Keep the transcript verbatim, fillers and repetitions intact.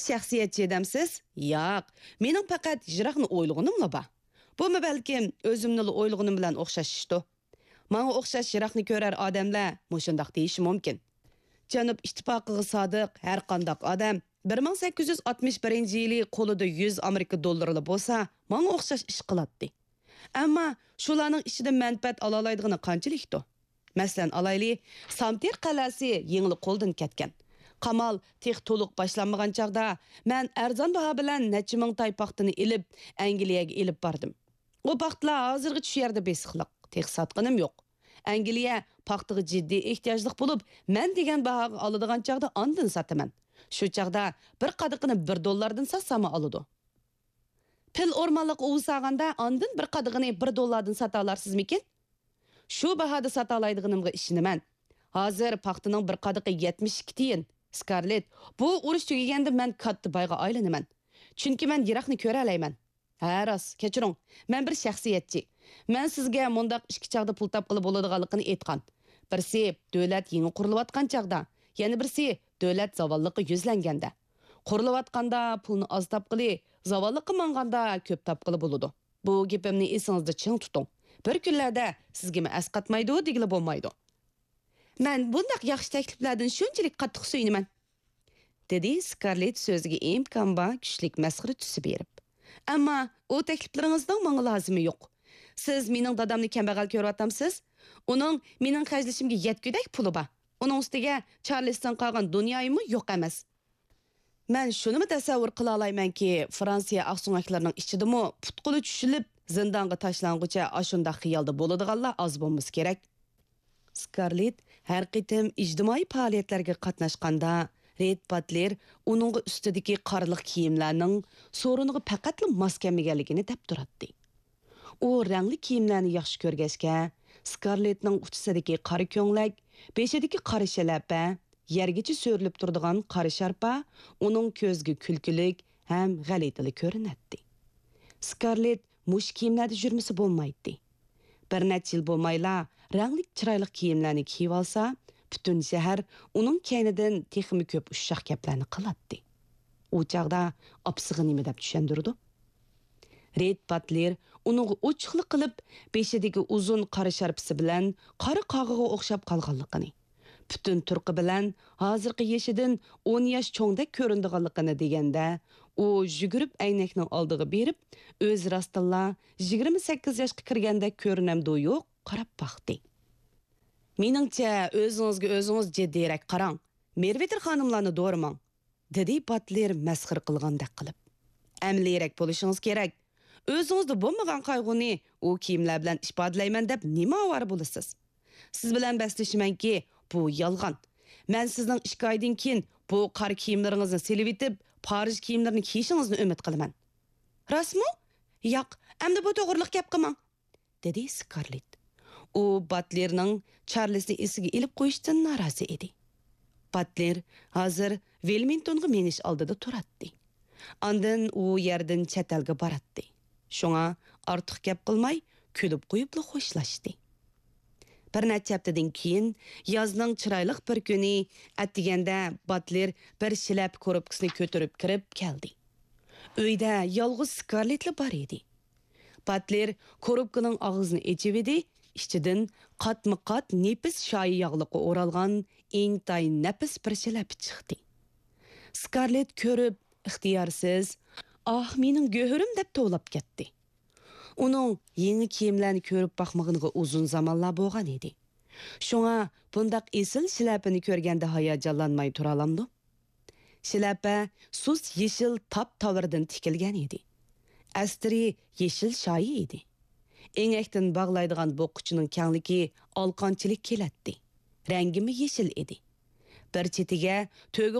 شەخسىيەتچى دەمسىز؟ ياق، مېنىڭ پەقەت يىراقنى ئويلىغىنىملا بار. بۇمۇ بەلكىم ئۆزۈمنىلا ئويلىغىنىم بىلەن ئوخشاش ئىشتۇ. ماڭا ئوخشاش يىراقنى كۆرەر ئادەملەر مۇشۇنداق دېيىشى مۇمكىن. جەنۇب ئىتتىپاقىغا سادىق ھەر قانداق ئادەم بىر مىڭ سەككىز يۈز ئاتمىش بىرىنچى يىلى قولىدا يۈز ئامېرىكا دوللىرىلا بولسا، ماڭا ئوخشاش ئىش قىلاتتى. ئەمما شۇلارنىڭ ئىچىدە مەنپەئەت ئالالايدىغىنى قانچىلىكتۇ؟ مەسىلەن ئالايلى، سامتېر قەلئەسى يېڭىلا قولدىن كەتكەن. قامال تېخى تولۇق باشلانمىغان چاغدا، مەن ئەرزان باھا بىلەن نەچچە مىڭ تاي پاختىنى ئېلىپ، ئەنگلىيەگە ئېلىپ باردىم. ئۇ پاختىلار ھازىرغىچە شۇ يەردە بېسىقلىق، تېخى ساتقىنىم يوق. ئەنگلىيە پاختىغا جىددىي ئېھتىياجلىق بولۇپ، مەن دېگەن باھاغا ئالىدىغان چاغدا ئاندىن ساتىمەن. شۇ چاغدا بىر قادىقىنى بىر دوللاردىن ساتساممۇ ئالىدۇ. پىل ئورمانلىققا ئۇۋا سالغاندا، ئاندىن بىر قادىقىنى بىر دوللاردىن ساتالارسىزمىكىن؟ شۇ باھادا ساتالايدىغىنىمغا ئىشىنىمەن. ھازىر پاختىنىڭ بىر قادىقى يەتمىش ئىككى تىيىن. سكارلېت، بۇ ئۇرۇش تۈگىگەندە مەن كاتتا بايغا ئايلىنىمەن. چۈنكى مەن يىراقنى كۆرەلەيمەن. ھە، راست، كەچۈرۈڭ. مەن بىر شەخسىيەتچى. مەن سىزگە مۇنداق ئىككى چاغدا پۇل تاپقىلى بولىدىغانلىقىنى ئېيتقان. بىرسى دۆلەت يېڭى قۇرۇلۇۋاتقان چاغدا، يەنە بىرسى دۆلەت زاۋاللىققا يۈزلەنگەندە. قۇرۇلۇۋاتقاندا پۇلنى ئاز تاپقىلى، زاۋاللىققا ماڭغاندا كۆپ تاپقىلى بولىدۇ. بۇ گېپىمنى ئېسىڭىزدە چىڭ تۇتۇڭ. بىر كۈنلەردە سىزگىمۇ ئەسقاتمايدۇ دېگىلى بولمايدۇ. مەن بۇنداق ياخشى تەكلىپلەردىن شۇنچىلىك قاتتىق سۆيۈنىمەن. دېدى سكارلېت سۆزىگە ئىمكان بار كۈچلۈك مەسخىرە تۈسى بېرىپ. ئەمما ئۇ تەكلىپلىرىڭىزنىڭ ماڭا لازىمى يوق. سىز مېنىڭ دادامنى كەمبەغەل كۆرۈۋاتامسىز؟ ئۇنىڭ مېنىڭ خەجلىشىمگە يەتكۈدەك پۇلى بار. ئۇنىڭ ئۈستىگە چارلىستىن قالغان دۇنيايىمۇ يوق ئەمەس. مەن شۇنىمۇ تەسەۋۋۇر قىلالايمەنكى، فرانسىيە ئاقسۆڭەكلىرىنىڭ ئىچىدىمۇ پۇت-قولى چۈشۈلۈپ، زىندانغا تاشلانغۇچە ئاشۇنداق خىيالدا بولىدىغانلار ئاز بولمىسا كېرەك. سكارلېت ھەر قېتىم ئىجتىمائىي پائالىيەتلەرگە قاتناشقاندا، رېد باتلېر ئۇنىڭغا ئۈستىدىكى قارىلىق كىيىملەرنىڭ سورۇنىغا پەقەتلا ماس كەلمىگەنلىكىنى دەپ تۇراتتى. ئۇ رەڭلىك كىيىملەرنى ياخشى كۆرگەچكە، سكارلېتنىڭ ئۇچىسىدىكى قارا كۆڭلەك، بېشىدىكى قارا شەلەپە، يەرگىچە سۆرىلىپ تۇرىدىغان قارا شارپا ئۇنىڭ كۆزىگە كۈلكىلىك ھەم غەلىتىلا كۆرۈنەتتى. سكارلېت مۇشۇ كىيىملەردە يۈرمىسە بولمايتتى. بىر نەچچە يىل بولمايلا رەڭلىك چىرايلىق كىيىملەرنى كىيىۋالسا، پۈتۈن شەھەر ئۇنىڭ كەينىدىن تېخىمۇ كۆپ ئۇششاق گەپلەرنى قىلاتتى. ئۇ چاغدا ئاپىسىغا نېمە دەپ چۈشەندۈرىدۇ؟ رېد باتلېر ئۇنىڭغا ئوچۇقلا قىلىپ، بېشىدىكى ئۇزۇن قارا شارپىسى بىلەن قارا قاغىغا ئوخشاپ قالغانلىقىنى، پۈتۈن تۇرقى بىلەن ھازىرقى يېشىدىن ئون ياش چوڭدەك كۆرۈنىدىغانلىقىنى دېگەندە، ئۇ يۈگۈرۈپ ئەينەكنىڭ ئالدىغا بېرىپ، ئۆزى راستتىنلا يىگىرمە سەككىز ياشقا كىرگەندەك كۆرۈنەمدۇ يوق قاراپ باقتى. مېنىڭچە، ئۆزىڭىزگە ئۆزىڭىز جىددىيرەك قاراڭ، مېرۋېتېر خانىملارنى دورىماڭ، دېدى باتلېر مەسخىرە قىلغاندەك قىلىپ. ئەمەلىيرەك بولۇشىڭىز كېرەك. ئۆزىڭىزدە بولمىغان قايغۇنى ئۇ كىيىملەر بىلەن ئىپادىلەيمەن دەپ نېمە ئاۋارە بولىسىز؟ سىز بىلەن بەسلىشىمەنكى، بۇ يالغان. مەن سىزنىڭ ئىككى ئايدىن كېيىن بۇ قارا كىيىملىرىڭىزنى سېلىۋېتىپ، پارىژ كىيىملىرىنى كىيىشىڭىزنى ئۈمىد قىلىمەن. راستمۇ؟ ياق، ئەمدى بۇ توغرىلىق گەپ قىلماڭ، دېدى سكارلېت. ئۇ باتلېرنىڭ چارلىزنى ئېسىگە ئېلىپ قويۇشىدىن نارازى ئىدى. باتلېر ھازىر ۋېلمىنگتونغا مېڭىش ئالدىدا تۇراتتى. ئاندىن ئۇ يەردىن چەت ئەلگە باراتتى. شۇڭا ئارتۇق گەپ قىلماي، كۈلۈپ قويۇپلا خوشلاشتى. بىر نەچچە ھەپتىدىن كېيىن، يازنىڭ چىرايلىق بىر كۈنى، ئەتىگەندە باتلېر بىر شىلەپە كوروپكىسىنى كۆتۈرۈپ كىرىپ كەلدى. ئۆيدە يالغۇز سكارلېتلا بار ئىدى. باتلېر كوروپكىنىڭ ئاغزىنى ئېچىۋىدى، ئىچىدىن قاتمۇ قات نېپىز شايى ياغلىققا ئورالغان ئىنتايىن نەپىس بىر شىلەپە چىقتى. سكارلېت كۆرۈپ، ئىختىيارسىز، «ئاھ، مېنىڭ گۆھىرىم!» دەپ توۋلاپ كەتتى. ئۇنىڭ يېڭى كىيىملەرنى كۆرۈپ باقمىغىنىغا ئۇزۇن زامانلار بولغان ئىدى. شۇڭا بۇنداق ئېسىل شىلەپىنى كۆرگەندە ھاياجانلانماي تۇرالامدۇ؟ شىلەپە سۇس يېشىل تاپ تاۋىرىدىن تىكىلگەن ئىدى. ئەستىرى يېشىل شايى ئىدى. ئېڭەكتىن باغلايدىغان بوققۇچىنىڭ كەڭلىكى ئالىقانچىلىك كېلەتتى. رەڭگىمۇ يېشىل ئىدى. بىر چېتىگە تۆگە